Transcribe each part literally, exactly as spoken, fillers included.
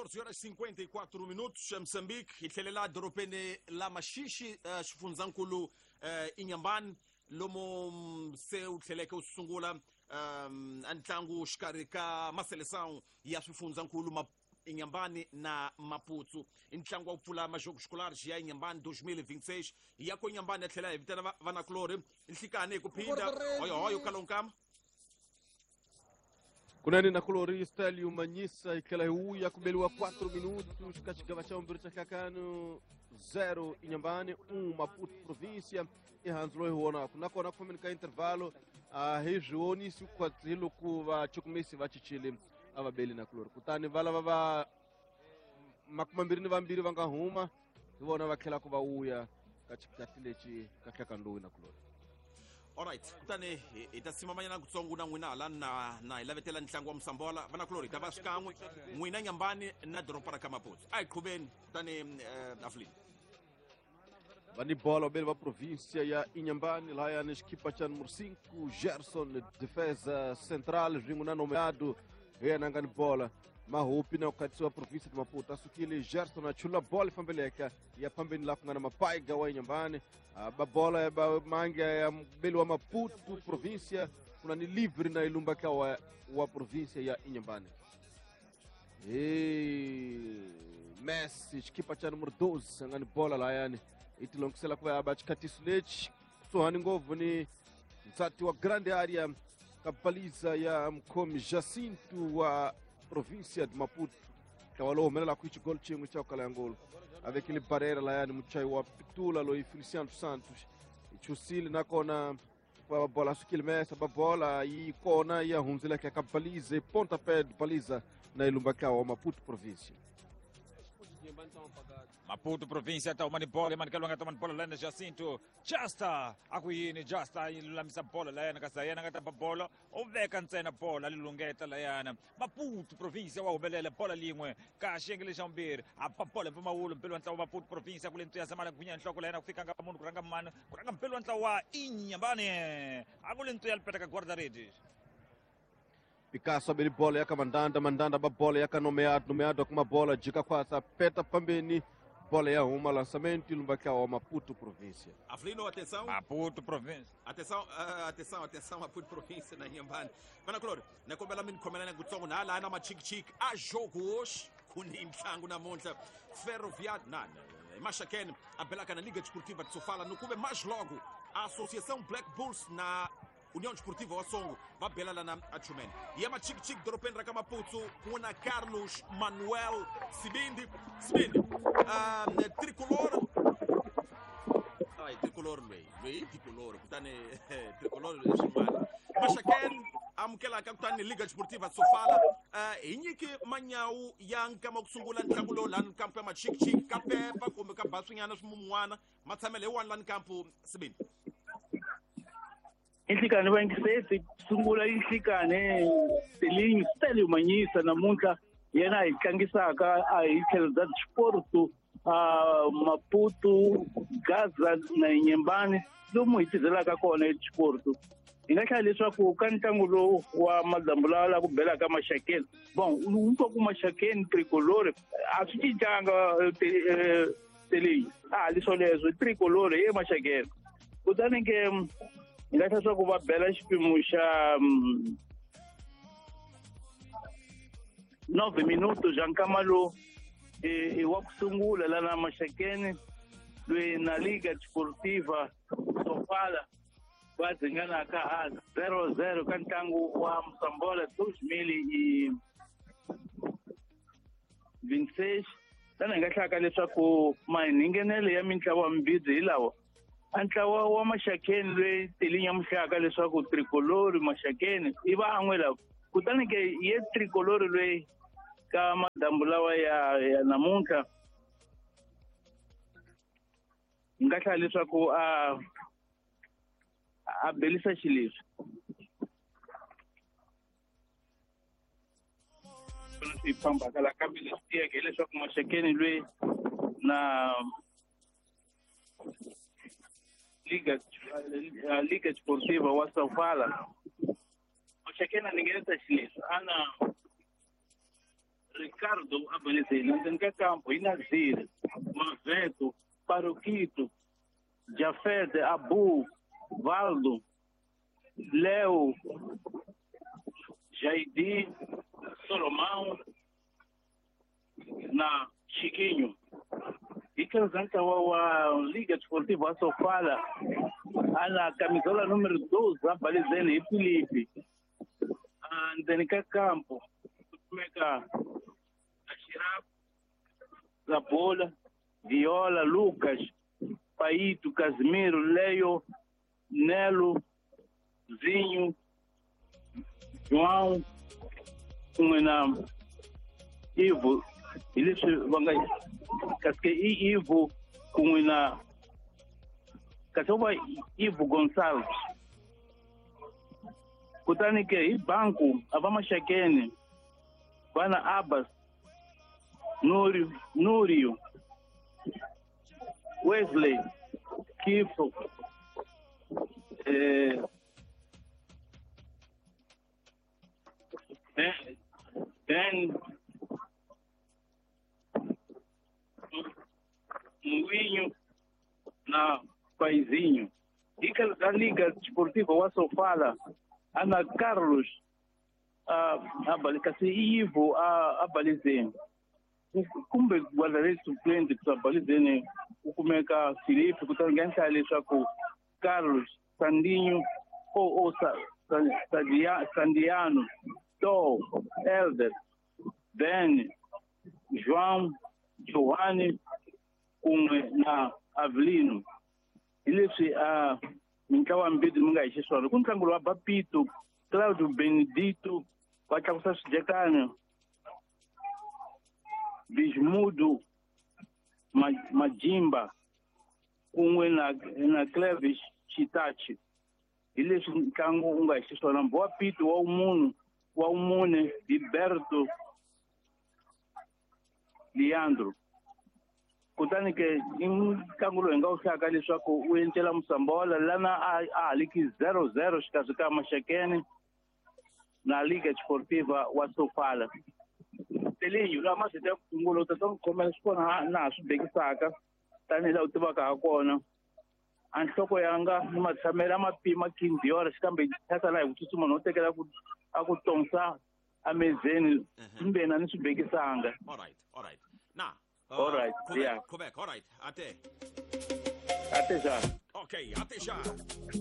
catorze horas e cinquenta e quatro minutos, em Moçambique, hi tlhelela dorobeni la Maxixi, uh, xifundzankulu uh, Inhambane, lomo se wu tlheleke wu sungula um, ntlangu xikarhi ka maseleção ya swifundzankulu ma Inhambane na Maputo. Ntlangu wa ku pfula majogos escolares ya Inhambane dois mil e vinte e seis. Ya ko Inhambane ya tlhela hi vitana vanakulorhi nhlikani hi ku phinda hoyohoyo kalonkama. Kunene na kulori Stélio Manyisa hi tlhela hi wuya ku beliwa quatro minutos ka xigava xa vumbirhi xa nhlakano zero Inhambane um Maputo província i handzu loyi hi vonaku nakona ku fambeni ka intervalo a hi swi vonisi hi loko vachukumisi va cincile a va beli na kulori kutani va lava va makumambirhi ni vambirhi va nga huma hi vona va tlhelaku va wuya ka xikati lexi ka nhlakano lowu na kulori. Alright, kutani hi ta simamanyana kutsongo na n'wina hala na na hi lavetela ntlangu wa Msambola vanakulorhi hi ta va xikan'we n'wina Inhambane na doroba ra ka Maputo. A hi qhuveni kutani Aflin. Va ni bola vabeli va província ya Inhambane lahayani xikipa xa número cinco Gerson defesa central swin'we na nomeado hi yena a nga ni bola Mahupi na ku khatisiwa província de Maputo a sukile Gerson a chula bola fambeleka ya phambeni laha ku nga na Mapaiga wa Inhambane ba bola ya ba mange ya mbeli wa Maputo província kuna ni livre na ilumba ka wa, wa província ya Inhambane. E Messi xikipa xa número doze a nga ni bola lahayani i tilongisela ku va ya ba xikhatiso lexi kusuhani ngopfu ni nsati wa grande area ka baliza ya mkhomi Jacinto wa província de Maputo ntlawa lowu humelelaka hi xigolo xin'we xa ku kala ya ngolo a vekile barera layani muchayi wa pitula loyi Feliciano Santos hi chusile nakona va bola sukile mesa ba bola yi kona ya hundzileka ka baliza pontapé de baliza na ilumba ka wa Maputo província. Maputo província ta humani bola emanikelo nga ta bola lana Jacinto Justa akuyini Justa yi lulamisa bola layana kasi yena nga ta ba bola u veka ntsena bola li lungeta layana Maputo província wa humelela bola lin'we ka xiyenge xa vumbirhi a ba bola mpfumawulo mpelo wa ntlawa Maputo província kule ntsuya zamala gwinya nhloko layana ku fika nga munhu ku rhanga mani ku rhanga mpelo wa ntlawa wa Inhambane a ku le ntsuya lipeta ka guarda-redes. Picasso abeli bola ya ka Mandanda, Mandanda ba bola ya ka Nomeado, Nomeado kuma bola jika kwasa peta pambeni bola ya huma lançamento ilumba ka wa Maputo província. Aflino, atenção. Maputo província. Atenção, uh, atenção, atenção Maputo província na Inhambane. Mana Clório, na kombela mini khomelana kutsongo na la na machik-chik a jogo hoje ku ni ntlangu namuntlha Ferroviário na Maxaquene a belaka na Liga Desportiva de Sofala no kube mais logo a Associação Black Bulls na União Desportiva Osongo va bela na Achumene. E é machik-chik dorobeni ra ka Maputo kuna Carlos Manuel Sibindi. Sibindi. Um, tricolor. Ai, tricolor lwe. Lwe tricolor. Kutani tricolor ximana. Maxaquene amukela ka kutani Liga Desportiva Sofala. Uh, hi nyiki manyawu ya nkama ku sungula ntlangu lowu lani kampo ya machik-chik ka pepa kumbe ka baswinyana swimun'wana matshamelo hi wani lani kampo Sibindi. Inhlikane va yingiseti sungula inhlikane Telinho Stélio Manyisa namuntlha yena hi tlangisaka a hi tlhelo bya Sport a Maputo Gaza na Inhambane lomu hi tizelaka kona eSport. Hi nga hlaya leswaku ka ntlangu lowu wa madyambu lawa la ku belaka Maxakeni bon u twa ku Maxakeni tricolore a swi cincanga Telinho a ha li swoleswo tricolore ye Maxakeni kutani ke hi nga hlaya leswaku va bela xipimo xa nove minutos xa nkama lowu i wa ku sungula lana Maxakeni loyi na Liga Desportiva Sofala va dzinganaka a zero zero ka ntlangu wa Msambola dois mil e vinte e seis. Tana hi nga hlaya leswaku mahingenelo ya mintlawa mimbirhi hi lawa a ntlawa wa Maxakeni loyi Telinho ya muhlaka leswaku tricolore Maxakeni i van'we lava kutani ke ye tricolore loyi ka madyambu lawa ya ya namuntlha hi nga hlaya leswaku a a belisa xileswi swi fambaka la kambe leswi tiyeke hileswaku Maxakeni loyi na Liga Liga Desportiva wa Sofala Maxakeni a ningenisa xileswi ana Ricardo abalizeni ndzeni ka kampo hi Nazir Maveto Paroquito Jafete Abu Valdo Leo Jaidi Solomão na Chiquinho. Hi tlhelo bya ntlawa wa Liga Desportiva Sofala ana camisola número doze abalizeni hi Filipe. Ndzeni ka kampo ku kumeka Ashiraf Zabola Viola Lucas Paito Casimiro Leio Nelo Zinho João kun'we na Ivo. Hi leswi va nga kasi i Ivo kun'we na kasi va Ivo Gonçalves. Kutani ke hi banku a va Maxakeni va na Abbas Núrio Núrio Wesley Kifo eh Ben Muinho na Paizinho. E a Liga Desportiva wa Sofala ana Carlos a kasi Ivo a abalizeni kumbe guarda-redes suplente ku abalizeni ku kumeka Filipe kutani nga endla leswaku Carlos Sandinho ou Sandiano To Elder Ben João Giovanni kun'we na Avelino. Hi leswi a mintlawa mbirhi mi nga hi xiswona ku ntlangu lowa Bapito Claudio Benedito va tlakusa swidyekana Bismudo Majimba kun'we na na Clevis Chitachi. Hi leswi ntlangu wu nga hi xiswona Mbowa Pito wa munhu wa mune Gilberto Leandro. Kutani ke i ntlangu lowu hi nga wu hlayaka leswaku wu encela Musambola lana a haliki zero zero xikarhi ka Maxakeni na Liga Desportiva wa Sofala. Telinho laha masete ya ku sungula u ta ta n'wi khomela swi kona laha swi bekisaka tanihi laha u tivaka ha kona. A nhloko yanga ni matshamelo a ma pima quinze horas kambe thyaka laha hi ku tsutsuma no tekela ku a ku tonsa amezeni kumbe na ni swi bekisanga. All right, all right. Na Uh, all right, Quebec, yeah. Quebec, all right. Até. Até já. Ok, até já.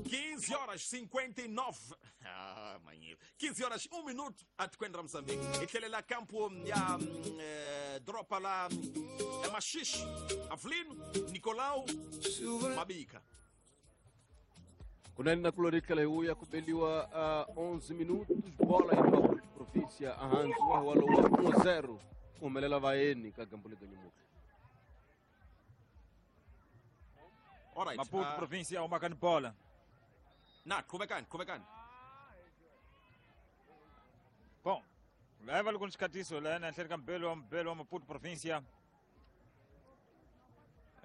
quinze horas cinquenta e nove. Ah, manhã. quinze horas, um minuto. Até quando Moçambique. E tele lá campo, ya, eh, dropa lá, é Machixe, Avelino, Nicolau, Mabica. Kunani na kulorikala huya kubeliwa uh, onze minutos, bola em Maputo, província, Ahanzu, walowa um zero. Humelela vayeni ka gambo lega nyamuka. All right. Maputo uh, província o makani bola. Na, qhubekani, qhubekani. Bom, leva alguns xikatiso lana ehenhleni ka mbelo wa mbelo wa Maputo província.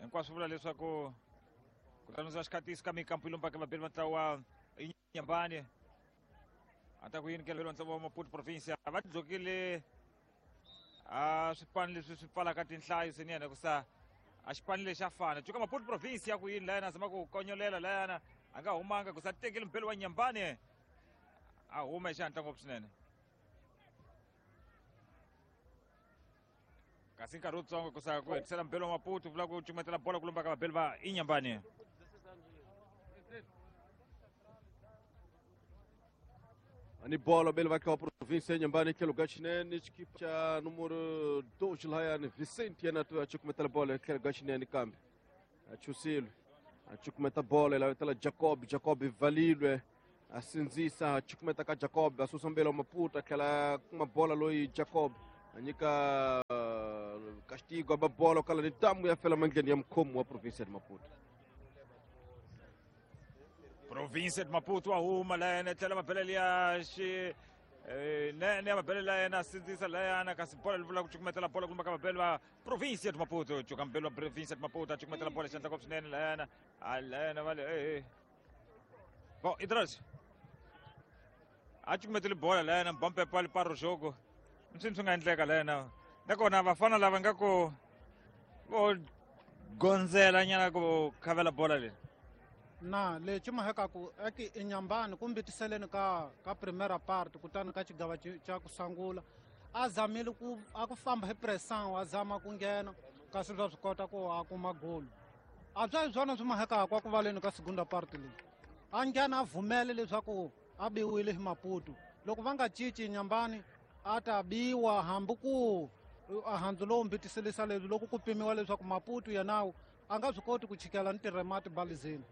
Hinkwaswo vula leswaku ku tlanisiwa xikatiso ka mikampo yi lombaka vabeli va ntlawa Inyambani. A ta ku yini ke wa ntlawa wa Maputo província va tidlokile a swipano leswi swi pfalaka tinhlayo swinene ku sa a xipano lexi a fana cuka Maputo province ya ku yini layana zama ku konyolela layana a nga humanga ku sa tekeli mpelo wa Nyambani a huma hi xihatla ngopfu swinene kasi nkarhi wutsongo ku sa ku hetisela mpelo wa Maputo vula ku cumetela bola ku lombaka vabeli va Inyambani. Ani bola bele vai cá província Inhambane que lugar chinene equipe cha número dois lá yani Vicente yana tu acho kumeta bola que lugar chinene kambe achusilo acho kumeta bola lá tela Jacob Jacob valilwe asinzisa acho kumeta ka Jacob asusa mbele Maputo aquela uma bola loi Jacob anyika castigo a bola kala ni tamu ya fela mangeni ya mkomo wa província de Maputo. Província de Maputo a huma layana tlhela mabelele ya xi nene mabelele layana sindzisa layana kasi bola li vula ku cukumetela bola ku lumba ka mabele va Província de Maputo cuka mbele wa Província de Maputo a cukumetela bola xandla ngopfu swinene layana a layana va le eh bom Idras a cukumetele bola layana mbampepa li paro jogo msini swi nga endleka layana Nakona vafana lava nga ku vo gondzela nyana ku khavela bola leyi. Na lexi mahekaku eki Inhambane kumbe tiseleni ka ka primera parte kutani ka xigava xa ku sungula a zamile ku a ku famba hi pressão a zama ku nghena kasi swa swi kota ku a kuma golo a bya hi swona swi mahekaku a ku valeni ka segunda parte leyi a nghena a vhumele leswaku a biwile hi Maputo loko va nga cinci Inhambane a ta biwa hambi ku a handzu lowu mbitiselisa leswi loko ku pimiwa leswaku Maputo yenawu a nga swi koti ku chikela ni tirhemati balizeni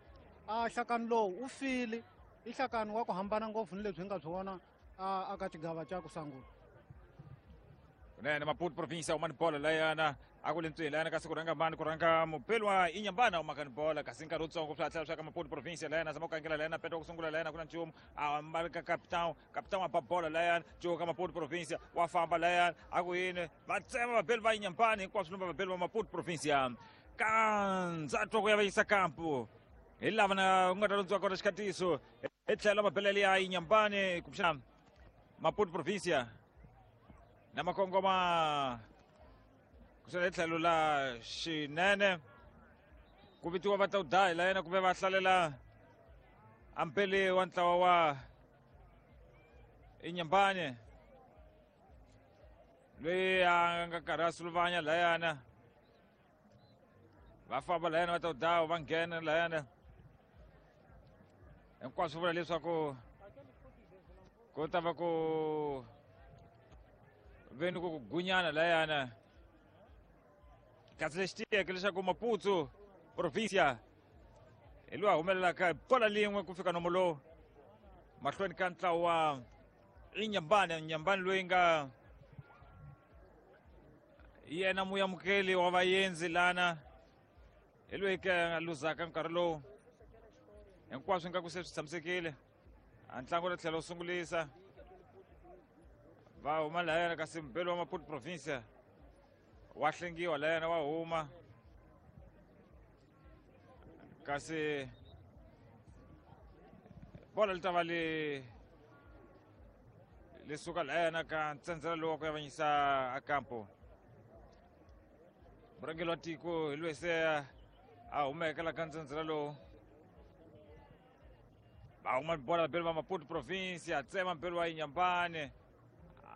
a hlakani lowu u file i hlakani wa ku hambana ngopfu ni leswi hi nga swi vona a ka xigava xa ku sungula. Kunene Maputo province umani bola layana a ku le ntswini layana kasi ku rhanga mani ku rhanga mupeli wa Inhambane u makani bola kasi nkarhi wutsongo swi hatla swa ka Maputo province layana zama ku kangela layana peta ku sungula layana ku na nchumu a mbali ka capitão capitão a ba bola layana cuka Maputo province wa famba layana a ku yini va tsema vabeli va Inhambane hinkwaswo va vabeli va Maputo province ka ndzatwa ku ya va yisa kampu hi lava na ku nga ta londziwa kona xikhatiso hi tlhelo mabelele ya Inhambane kumbexana Maputo province na makongoma kusela hi tlhelo la xinene ku vitiwa va ta u daya la yena kumbe va hlalela ampele wa ntlawa wa Inhambane loyi a nga karhi a suluvanya layana va famba layana va ta u daya va nghena layana hinkwaswo vula leswaku ku ta va ku veni ku gunyana layana kasi lexi tiyeke leswaku Maputo province hi loyi a humelelaka bola lin'we ku fika nomo lowu mahlweni ka ntlawa wa Inhambane Inhambane loyi nga yena muyamukeli wa vaendzi lana hi loyi ke a luzaka nkarhi lowu hinkwaswo nga ku se swi tshamisekile a ntlangu ri tlhela wu sungulisa va huma layana kasi mubeli wa Maputo province wa hlengiwa layana wa huma kasi bola li ta va li li suka layana ka ntsendzela lowu wa ku yavanyisa a kampo murhangeri wa tiko hi loyi se a humeke la ka ntsendzela lowu va huma bola vabeli va Maputo province a tsema mbeli wa Inhambane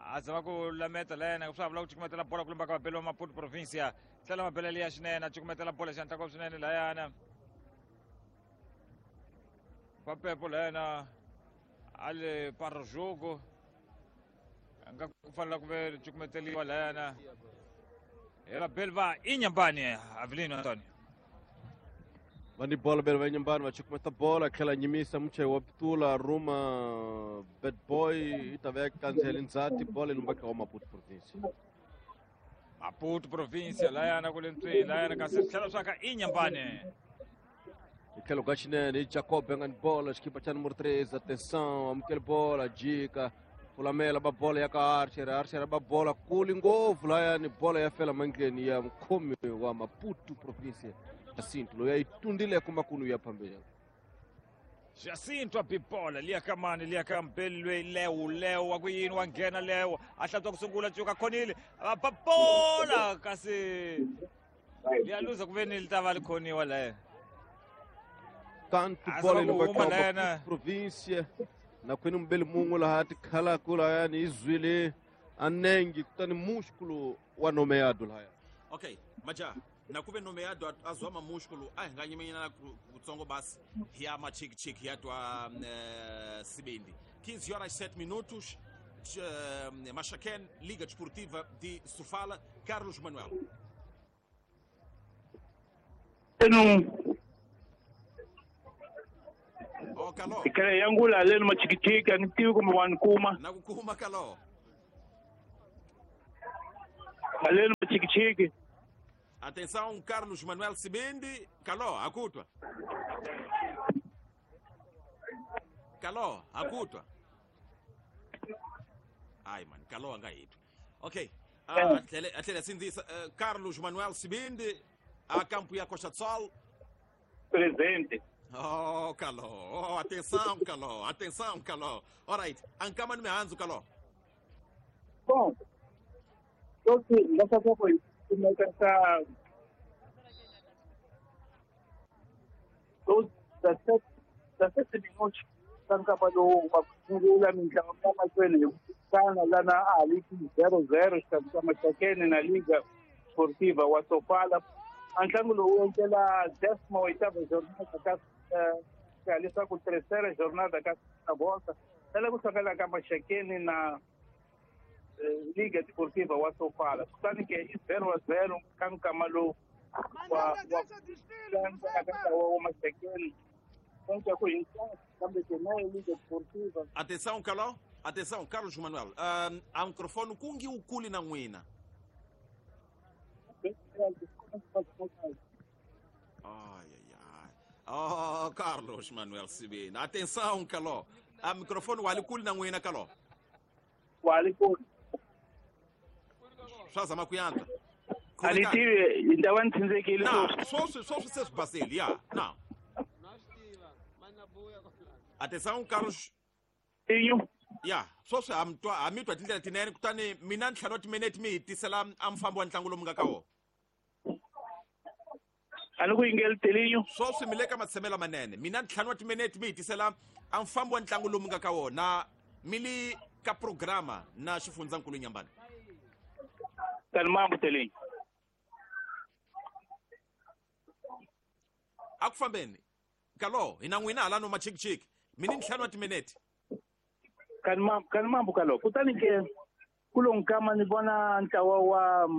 a zama ku lameta layena swa vula ku cukumetela bola ku lumba ka vabeli va Maputo province tlhela mabele liya xinene a cukumetela bola xi swinene layana papepo layana a le para jogo a nga ku fanela ku ve cukumeteliwa layana hi vabeli va Inhambane Avelino Antonio va ni bola beli va Inhambane va cukumeta bola tlhela nyimisa muchayi wa pitula ruma bad boy yi ta veka kandziyela ndzhati bola yi lumba ka wa Maputo province Maputo province layana ku le ntswini layana kasi tlhela swa ka Inhambane hi tlhelo ka xinene hi Jacob nga ni bola xikipa xa numero tres atenção amukele bola jika fulamela ba bola ya ka Archer Archer ba bola kuli ngopfu layani bola ya fela mandleni ya mukhomi wa Maputo province Jacinto loyi a yi tundile kumakunu ya phambili Jacinto a bibola liya ka mani liya ka mbeli loyi lewu lewu wa ku yini wa nghena lewu a hlantswa ku sungula cuka khonile va ba bola kasi liya luza ku ve ni li ta va li khoniwa leyo kantu bola yi lumba ka Maputo province na kwini mubeli mun'we laha tikhalaku layani yi zwile a nenge kutani músculo wa nomeado lahaya okay maja na kuve nomeado a zwa mamúsculo a hi nga nyimenyana kutsongo basi hi ya machikichiki ya twa uh, sibindi quinze horas sete minutos uh, Maxaquene, Liga Desportiva de Sofala, Carlos Manuel. Enu Oh, Kalo. Ikale yangu la leno machikichiki anitiwi kumbe wanikuma. Nakukuma Kalo. Aleno machikichiki. Atenção, Carlos Manuel Sibindi. Caló, akutwa. Caló, akutwa. Ai, mano, Caló angaito. Ok. Ah, atleta assim disse, uh, Carlos Manuel Sibindi, a campo e a Costa do Sol. Presente. Oh, Caló. Oh, atenção, Caló. Atenção, Caló. Alright. Ankama no Hanzo, Caló. Bom, Sweswi hi nga swa ku hi kumeka ka dezessete minutos ka nkama lowu wa ku sungula mitlangu ya mahlweni hi ku fana lana a ha li zero zero xikarhi ka Maxakeni na Liga Sportiva wa Sofala. A ntlangu lowu wu endlela décima oitava jornada ka ka leswaku terceira jornada ka volta tala ku hlangana ka Maxakeni na Liga Desportiva wa Sofala. Kutani ke i zero a zero ka nkama lowu wa wa wa Maxakeni. Atenção, Caló. Atenção, Carlos Manuel. Uh, há um microfone com o culi na ngwina. Ai, ai, ai. Oh, Carlos Manuel Sibina. Atenção, Caló. Há microfone o aliculi na ngwina, Caló. O aliculi. Swaza makuyanta. Alitiwe, indawana tsinzekile. Não, só só se Brasília. Não. Atenção, Carlos. Inho. Ya, só se amtwa amitwa tindlela tinene kutani mina ntlhanu timinete mi hitisela a mfambo wa ntlangu lomu nga ka wona. A ni ku yingeli Telinho. Swo swi mi le ka matshamelo manene. Mina ntlhanu wa timinete mi hitisela a mfambo wa ntlangu lomu nga ka wona mi li ka programa na xifundzankulu Nyambani. Tani mambo Telinho. A ku fambeni. Kalo, hina n'wina hala no machikichiki. Mina ntlhanu wa timinete. Kan mambo kan mambo kalo. Kutani ke kulo nkama ni vona ntlawa wa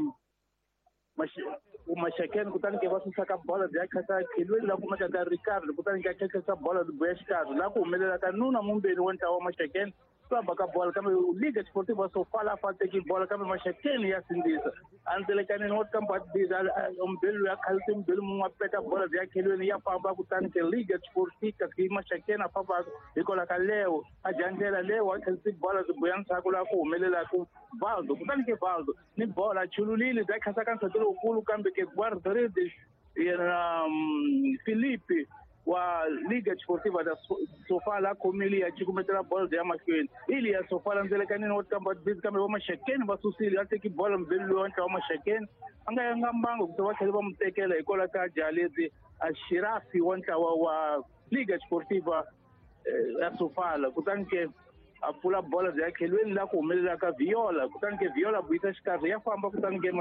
Maxakeni kutani ke va susa ka bola bya khata khelweni la kumeka ka Ricardo kutani ke khata bola bya xikarhi la ku humelela ka nuna mumbeni wa ntlawa wa Maxakeni famba ka bola kambe Liga Desportiva Sofala fa teki bola kambe Maxakeni ya sindzisa andzelekaneni wa kamba biza umbeli ya khalisi umbeli mun'we peta bola bya khelweni ya famba kutani ke Liga Desportiva ke Maxakeni a famba hikwalaho ka Leo a dya ndlela Leo a khalisi bola byi buya ndzhaku la ku humelela ku Valdo kutani ke Valdo ni bola chululile bya khasa ka nsati lowukulu kambe ke guarda-redes yena Felipe wa Liga Desportiva da Sofala khomile ya cukumetela bola ya mahlweni ili ya Sofala ndzelekanini wa kamba bizi kambe va Maxakeni va susile a teki bola mbeli loyi wa ntlawa wa Maxakeni a nga yanga mbango ku va tlhela va mu tekela hikwalaho ka Jalezi a Shirafi wa ntlawa wa Liga Desportiva ya Sofala kutani ke a pfula bola bya khelweni la ku humelela ka Viola kutani ke Viola buyisa xikarhi ya famba kutani ke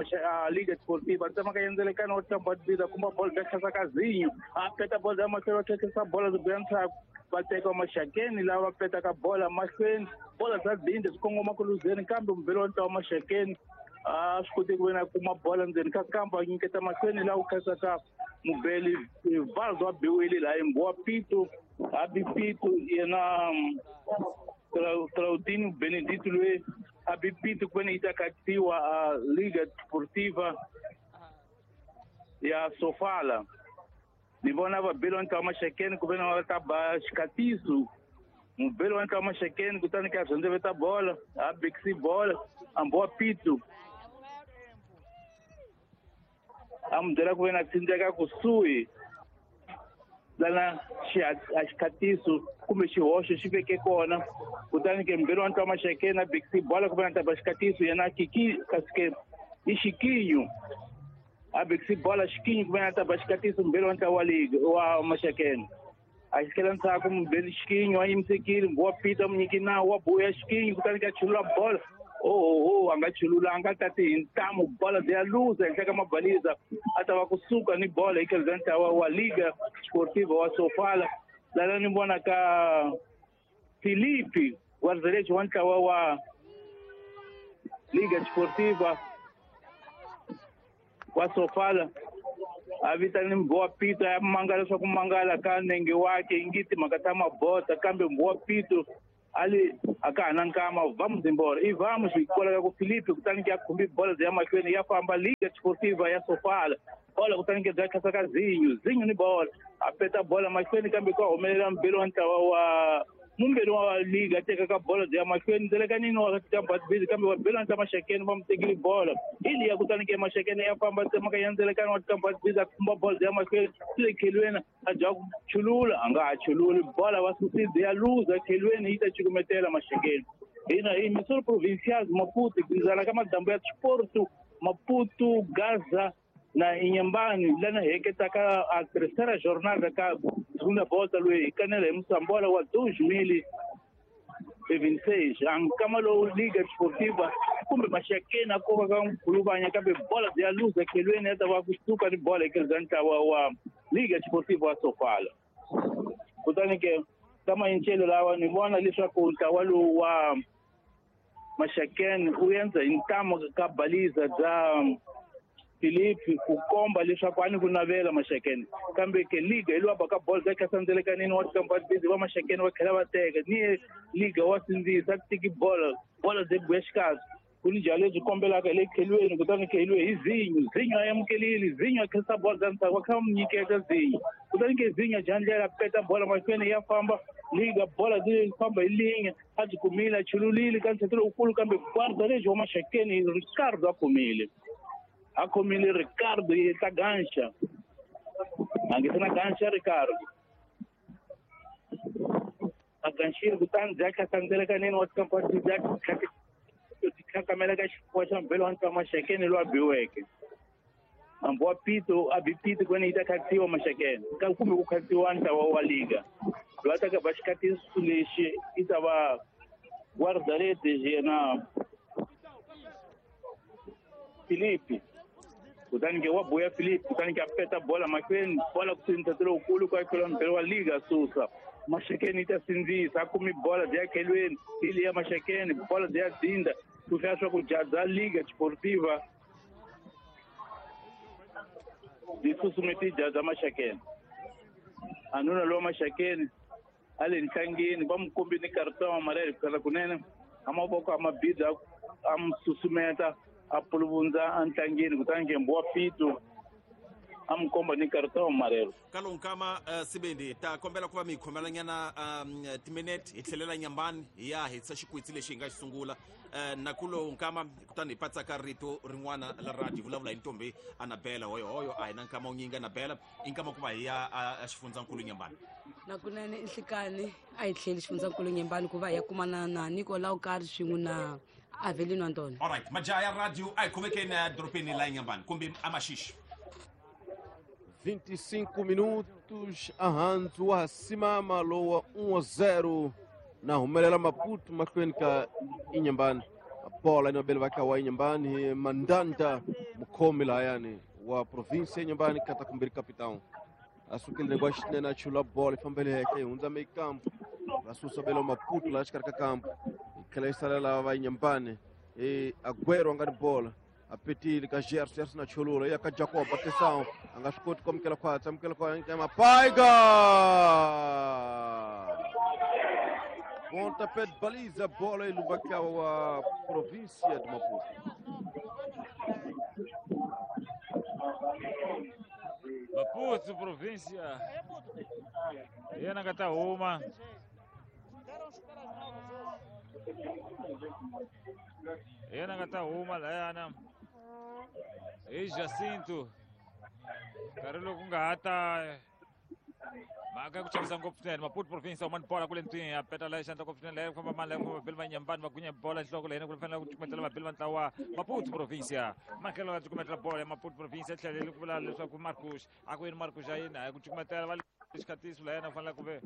Liga Desportiva tsemaka yendzelekana wa tlamba biza kumba bola bya khasa ka Zinho a peta bola ya mahlweni va tlhetlhisa bola byi buya ndzhaku va teka Maxakeni lava petaka bola mahlweni bola bya dinde swi kongoma ku luzeni kambe mubeli wa ntlawa Maxakeni a swi koti ku ve na kuma bola ndzeni ka kamba a nyiketa mahlweni laha ku khasaka mubeli Valdo a biwile laha Mbowa Pito a bi Pito yena Claudinho Benedito loyi a bi Pito ku ve ni yi ta katiwa a Liga Desportiva ya Sofala ni vona vabeli wa ntlawa Maxakeni ku ve ni va ta ba xikatiso mubeli wa ntlawa Maxakeni kutani ka rhendzeveta bola a bikisi bola a Mbowa Pito a mu byela ku ve na tsindzeka kusuhi lana xikatiso kumbe xihoxo xi veke kona kutani ke mbeli wa ntlawa Maxakeni a bikisi bola ku ve na ta ba xikatiso yena kiki kasi ke i Xikinyo a bikisi bola Xikinyo ku ve na ta ba xikatiso mbeli wa ntlawa wa liga wa Maxakeni a xikela ndzhaku mubeli Xikinyo a yimisekile Mbowa Pito a mu nyiki nawu wa buya Xikinyo kutani ke a chulula bola oh oh a nga chululanga tati hi ntamu bola bya luza henhla ka mabaliza a ta va kusuka ni bola hi tlhelo bya ntlawa wa Liga Desportiva wa Sofala lana ni vona ka Felipe guarda-redes wa ntlawa wa Liga Desportiva wa Sofala a vitani Mbowa Pito ya mangala leswaku mangala ka nenge wake ingi timhaka ta mabota kambe Mbowa Pito ali aka hana nkama vamos embora e vamos hikwalaho ka ku Felipe kutani ke a khumbi bola ya mahlweni ya famba Liga Desportiva ya Sofala bola kutani ke bya khasa ka Zinho Zinho ni bola a peta bola mahlweni kambe ka humelela mbeli wa ntlawa wa mumbeli wa Liga teka ka bola ya mahlweni ndzelekanini wa kamba bizi kambe wa beli wa ntlawa Maxakeni va mu tekile bola ili ya kutani ke Maxakeni ya famba tsemaka ya ndzelekani wa kamba bizi a khumba bola ya mahlweni swi le khelweni a dya ku chulula a nga ha chululi bola va susile ya luza khelweni yi ta cukumetela Maxakeni hina hi Missouri Provincial Maputo ku zala ka madambu ya Sport Maputo Gaza na Inhambane lana heketaka a terceira jornada ka segunda volta loyi kanela hi Moçambola wa dois mil e vinte e seis ankama lowu Liga Desportiva kumbe Maxakeni a koka ka Nkhuluvanya kambe bola ya luza khelweni ya ta va kusuka ni bola eka ntlawa wa Liga Desportiva wa Sofala. Kutani ke ka mayincelo lawa ni vona leswaku ntlawa lowu wa Maxakeni u endza hi ntamu ka baliza bya Filipe ku komba leswaku a ni ku navela Maxakeni kambe ke liga hi lowa baka bolo ka sandzelekanini wa tikampani va Maxakeni va tlhela va teka ni liga wa sindzisa ku tiki bolo bolo byi buya xikazi ku ni jalo lebyi kombelaka hi le khelweni kutani kheliwe hi Zinyo Zinyo a amukelile Zinyo a khensa bolo bya ntsako va kha va mu nyiketa Zinyo kutani ke Zinyo dya ndlela peta bolo mahlweni ya famba liga bola byi famba hi linye a byi kumile a chululile ka ntshetelo lowukulu kambe guarda lebyi wa Maxakeni Ricardo a kumile a khomile Ricardo yi ta ganxa a nge se na ganxa Ricardo a ganxile kutani bya khasandzelekanini wa tikampani bya khakamela ka xifuwa xa mbhelo wa ntlawa Maxakeni lowu a biweke hambi wa pito a bi pito kwene yi ta khatsiwa Maxakeni kumbe ku khatsiwa ntlawa wa liga loyi a ta ka ba xikatiso lexi i ta va guarda-redes yena Filipe kutani ke wa buya Filipe kutani ke a peta bola mahlweni bola ku sindzisa lowukulu ku akhela mbhelo wa liga susa Maxakeni yi ta sindzisa a kumi bola byi ya khelweni hi liya Maxakeni bola byi ya dzinda ku hlaya swa ku jaza Liga Desportiva byi susumeti jaza Maxakeni a nuna lowa Maxakeni a le ntlangeni va mu kombini karata wa marele kukhala kunene a mavoko a mabida a mu susumeta a puluvundza a ntlangeni kutani ke mbuwa pito a mu komba ni karata wa marelo ka lowu nkama uh, Sibindi ta kombela ku va mi hi khomelanyana um, timinete hi tlhelela Nyambani hi ya hetisa xikwitsi lexi hi nga xi sungula uh, na ku lowu nkama kutani hi patsaka rito rin'wana la radio hi vulavula hi ntombi Anabela hoyohoyo a hi na nkama wu nyingi Anabela i nkama ku va hi ya a xifundzankulu Nyambani nakunene nhlikani a hi tlheli xifundzankulu Nyambani ku va hi ya kumana na Nicolau Kari swin'we na Avelino Antônio. Alright, majaha ya radio a hi khomekeni edorobeni la Nyambani kumbe aMaxixi. vinte e cinco minutos ahandzu wa simama lowa um a zero na humelela Maputo mahlweni ka Inhambane. Bola inobele va ka wa Inhambane Mandanda mukhomi lahayani wa província Inhambane kata kumbirhi capitão a sukile ngwa xinene a chula bola yi fambele henhla yi hundza meio campo va susa belo Maputo laha xikarhi ka kampo yi tlhela yi salela va Inhambane e Aguero a nga ni bola a petile ka Gerson Gerson a chulula ya ka Jacob atenção a nga swi koti ku amukela khwatsi amukela khwatsi Mapaiga pontapé de baliza bola e lumba wa província de Maputo. Maputo província yena nga ta huma yena nga ta huma layana hi Jacinto nkarhi lowu ku nga ha ta mhaka ya ku chavisa ngopfu swinene Maputo province huma ni bola kule ntwini a peta la xandla ngopfu swinene leyi ku famba mani leyi ku famba vabeli va Nyambani va gunya bola nhloko leyi ku fanele ku cukumetela vabeli va ntlawa Maputo province makhelo va cukumetela bola ya Maputo province a tlhelele ku vula leswaku Marcos a ku yini Marcos a yini a ku cukumetela va xikhatiso la yena fanele ku ve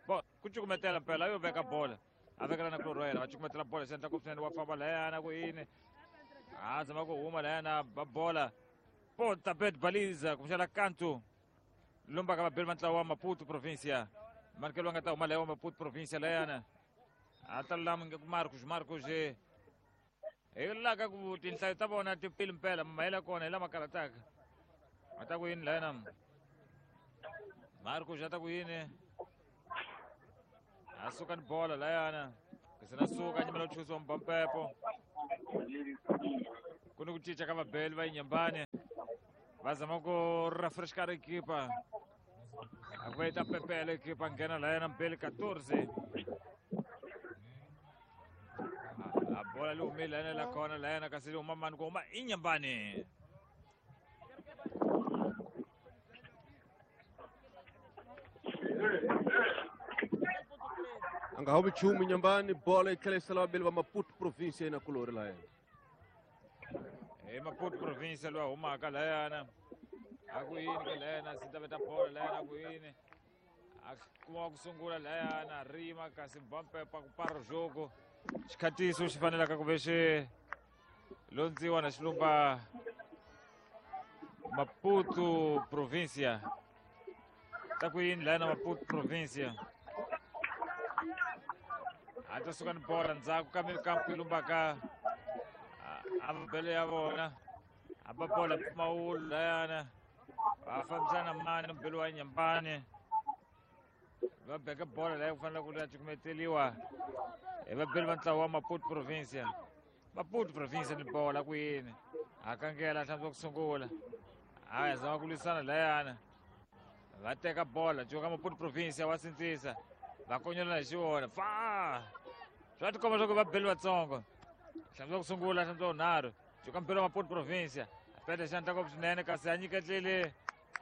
bo ku cukumetela mpela yo veka bola a vekela na kulorwela va cukumetela bola xandla ngopfu swinene wa famba layana ku yini a zama ku huma layana ba bola pontapé de baliza kumbexana kanto lumba ka vabeli va ntlawa wa Maputo província manikelo nga ta huma leyo wa Maputo província layana a ta lulama nge ku Marcos Marcos hi la ka ku tinhlayo ta vona ti pili mpela mahela kona hi lama karataka a ta ku yini layana Marcos a ta ku yini a suka ni bola layana kasi na suka nyimela ku chusiwa mbampepo ku ni ku cinca ka vabeli va Inhambane va zama ku refrescar equipa a ku va yi ta pepela equipa nghena layana mbeli quatorze a bola li humile layana la kona layana kasi li huma mani ku huma Inhambane a nga humi nchumu Inhambane bola yi tlhela yi sala vabeli va Maputo província na kulori layana I Maputo province loyi a humaka layana a ku yini ke layana sita veta bolo layana a ku yini a kuma ku sungula layana rima kasi bampepa ku para jogo xikhatiso xi fanelaka ku ve xi londziwa na xilumba Maputo provincia ta ku yini layana Maputo provincia a ta suka ni bola ndzhaku ka mikampu yi lumbaka a mabele ya vona a ba bola mpfumawulo layana va fambisana mani mbele wa Nyambani va beka bola leyi ku fanele ku ya cukumeteliwa hi vabeli va ntlawa wa Maputo provincia Maputo provincia ni bola ku yini a kangela hlantswa ku sungula a ya zama ku lwisana layana va teka bola cuka Maputo provincia wa sindzisa va konyolana hi xiwona fa swa tikomba swa ku vabeli vatsongo hlantswa ku sungula hlantswa vunharhu cuka mbeli wa Maputo provincia a peta xandla ngopfu swinene kasi a nyiketlile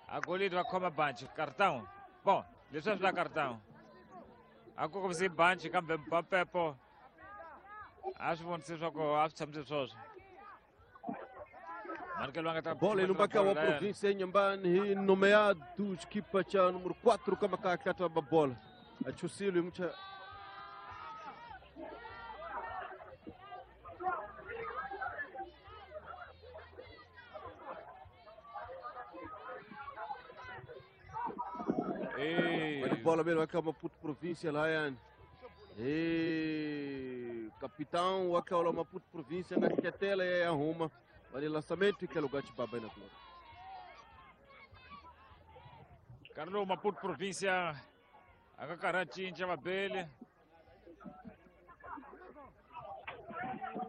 a golidi va khoma banchi cartão bon leswi a swi la cartão a ku kombisi banchi kambe Mbapepo a swi vonise swa ku a swi tshamise swoswo manikelo nga ta bola ilumbaka wa província ya Nyambani hi nomeado xikipa cha número quatro ka makaka ta bola a chusile mucha bola bele wa ka Maputo província layani e capitão wa ka Maputo província na ketela ya arruma vale lançamento que é lugar de baba na glória. Carlo Maputo província a ka cinca vabele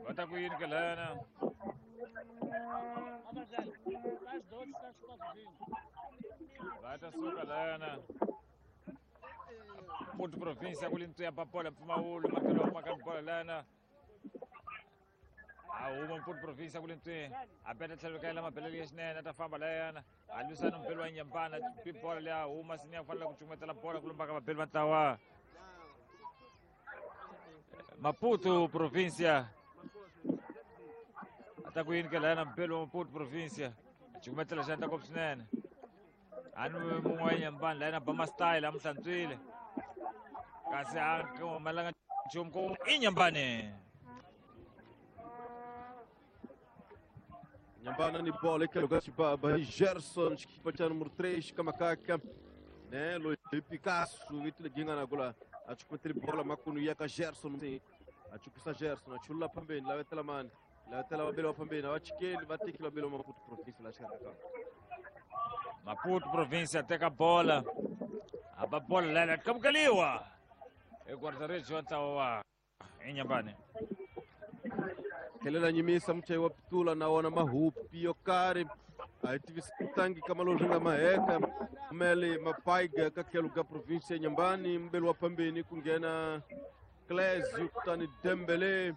va ta ku yini ke lana va ta suka lana Maputo província ku lintu ya babola mpfumawulo makelo wa ka bola lana a huma Maputo província ku lintu a beta tlhelo ka yela mabelele ya xinene a ta famba layana a lwisana mbeli wa Nyambana bola leyi a huma sini ya fanele ku cukumetela bola ku lumbaka vabeli va ntlawa Maputo província a ta ku yini ke layana mbeli wa Maputo província a cukumetela xandla ngopfu swinene a ni mun'we wa Nyambana layana ba ma-style a mu hlantswile kasi a humelanga nchumu ku i Nyambani. Nyambana ni bola que é lugar de baba Gerson equipa cha número três Kamakaka né Luiz Picasso vitile na gola achukumetele bola makunu yaka Gerson achukisa Gerson achula pambeni la vetela mani la vetela babelo pambeni abachikeli batekile babelo Maputo província la xikaka Maputo província teka bola aba bola lela kamukeliwa e guarda-redes wa ntlawa wa Inyambani kelela nyimisa muchayi wa pitula na wona mahupi yo karhi a hi tivisangi ka malozwi nga maheka mele mapaiga ka tlhelo ka província ya Nyambani mbeli wa phambeni ku nghena Clésio kutani Dembele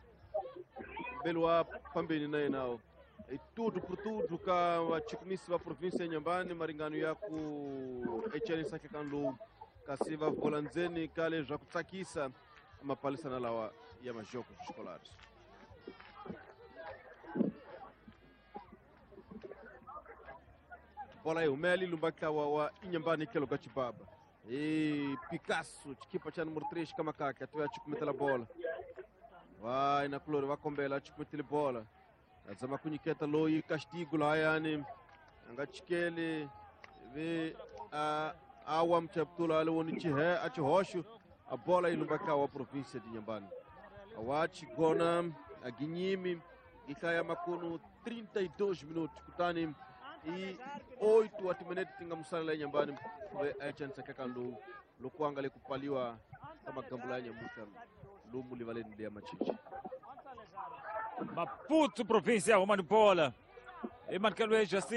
mbeli wa phambeni na yena e tudo por tudo ka vachukumisi va província ya Nyambani maringano ya ku echanisa ka lowu kasi va vola ndzeni ka leswaku tsakisa mapalisana lawa ya majoko escolares. Bola yi humela yi lumba ntlawa wa Inyambani tlhelo ka Chibaba e Picasso xikipa xa número três ka makaka a tiva cukumetela bola vai na kulori va kombela a cukumetele bola a zama ku nyiketa loyi castigo layani a nga chikeli vi a awa mchaptula ali woni chihe a chihoxo a bola yi lumba ntlawa wa província de Inhambane awa chigona a ginyimi yi makunu trinta e dois minutos kutani e oito wa timinete ti nga musalela Inhambane kuve a chanisa kaka lowu loko a nga le ku pfaliwa ka magambula ya nyamuhla lomu livaleni leya Machichi. Maputo província huma ni bola i manikelo ya